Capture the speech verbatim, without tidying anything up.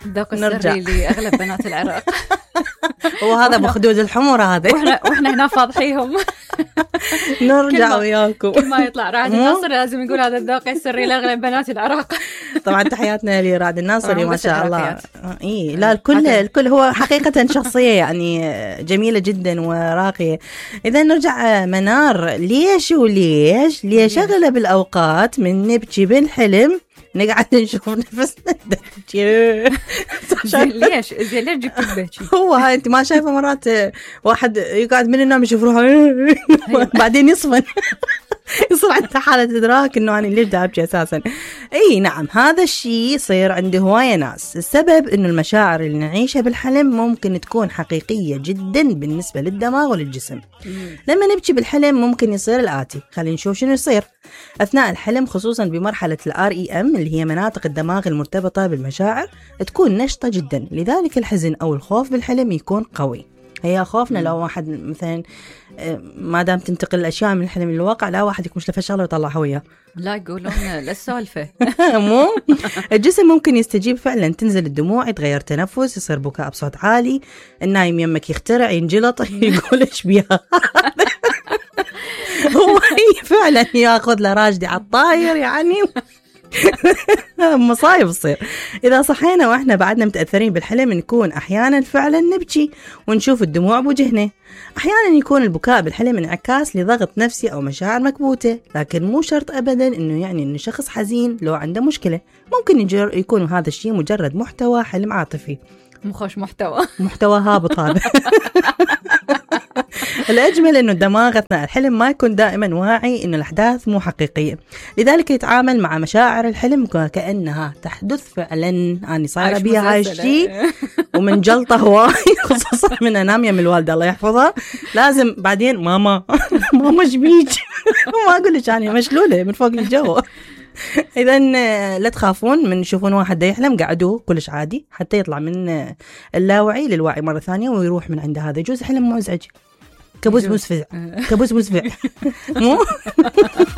الذوق السري لأغلب بنات العراق. وهذا بخدود الحمر هذا. واحنا واحنا هنا فاضحيهم. نرجع وياكم. كل ما يطلع رعد الناصري لازم يقول هذا الذوق السري لأغلب بنات العراق. طبعا تحياتنا لرعد الناصري ما شاء الله. اي لا الكل الكل هو حقيقة شخصية يعني جميلة جدا وراقية. إذا نرجع منار، ليش وليش ليش أغلب الأوقات من نبكي بالحلم نقعد نشوف نفسنا زين ليش زين ليش جبت تبكي؟ هو هاي انت ما شايفه مرات واحد يقعد من النوم يشوف روحه بعدين يصفن يصير عنده حالة إدراك إنه أنا ليش دا أبكي أساسا. أي نعم هذا الشيء يصير عند هواية ناس. السبب إنه المشاعر اللي نعيشها بالحلم ممكن تكون حقيقية جدا بالنسبة للدماغ وللجسم. لما نبكي بالحلم ممكن يصير الآتي، خلينا نشوف شنو يصير أثناء الحلم، خصوصا بمرحلة الآر إي إم اللي هي مناطق الدماغ المرتبطة بالمشاعر تكون نشطة جدا، لذلك الحزن أو الخوف بالحلم يكون قوي. هي خوفنا لو واحد مثلا ما دام تنتقل الأشياء من الحلم للواقع، لا واحد يكون مشلف شغله ويطلع هوية. لا يقولون للسالفة. مو الجسم ممكن يستجيب فعلا، تنزل الدموع، يتغير تنفس، يصير بكاء بصوت عالي، النايم يمك يخترع ينجلط يقول إيش بيها. هو فعلا ياخذ له راجدي على الطاير يعني. مصايب تصير. إذا صحينا وإحنا بعدنا متأثرين بالحلم نكون أحيانا فعلا نبكي ونشوف الدموع بوجهنا. أحيانا يكون البكاء بالحلم انعكاس لضغط نفسي أو مشاعر مكبوتة، لكن مو شرط أبدا إنه يعني إنه شخص حزين لو عنده مشكلة. ممكن يكون هذا الشيء مجرد محتوى حلم عاطفي. مخش محتوى محتوى هابط هذا. الأجمل إنه الدماغ أثناء الحلم ما يكون دائما واعي إنه الأحداث مو حقيقية، لذلك يتعامل مع مشاعر الحلم كأنها تحدث فعلا. أنا صايرة بيها هاي الشيء ومن جلطة هواي، خصوصا من أنام يم الوالدة الله يحفظها، لازم بعدين ماما ماما شبيك. ما أقول لك أنا مشلولة من فوق الجو. إذا لا تخافون من تشوفون واحد دا يحلم، قعدوه كلش عادي حتى يطلع من اللاوعي للوعي مرة ثانية ويروح من عند هذا. يجوز حلم مزعج، كابوس مسفع، كابوس مسفع. مو